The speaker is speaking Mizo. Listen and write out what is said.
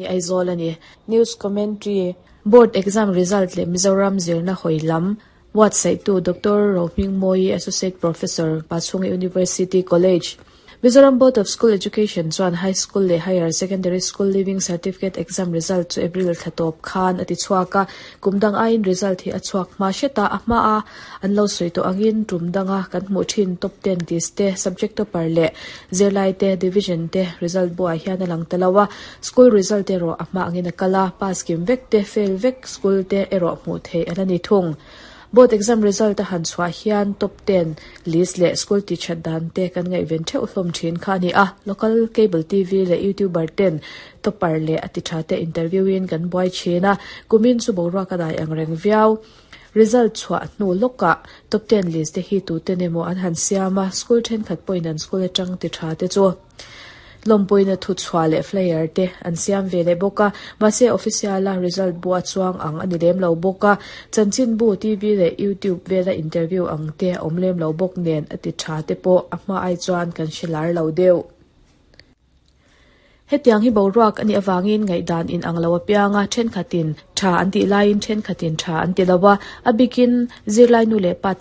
Ni Aizawl a ni. News Commentary, Board Exam Result leh Mizoram zirna hawi lam buatsaihtu Doctor Rohmingmawii Associate Professor, Pachhunga University College. Mizoram Board of School Education chuan High School leh Higher Secondary School Leaving Certificate Exam result chu April thla tawp khan a ti chhuak a, kum dang aiin result hi a chhuak hma hret a, a hmaa an lo sawi tawh angin tum danga kan hmuh thin top ten list te, subject topper leh zirlai te, division te result buah hian a lang ta lo a, school result erawh a hma angin a kal a, pass kim vek te, fail vek school te erawh hmuh theih a la ni thung. Board exam result a han chhuah hian top ten list leh school ti that dan te kan ngaihven theuh hlawm thin kha a ni a, local cable TV leh youtuber ten topper leh a ti tha te interview in kan buai thin a, kumin chu boruak a dai ang reng viau. Result chhuah hnu lawkah top ten list te hi tuten emaw an han siam a, school thenkhat pawhin an school atang ti tha te chu lawmpuina thu chhuah leh flyer te an siam ve leh bawk a, mahse official a result bu a chuang ang a ni lem lo bawk a, chanchinbu, TV leh YouTube vela interview ang te a awm lem lo bawk nen a ti tha te pawh a hma ai chuan kan hre lar lo deuh. Hetiang hi boruak a nih avangin ngaihdan in ang lo apianga thenkhatin tha an tih laiin thenkhatin tha an ti lo a, a bikin zirlai nu leh pa tam.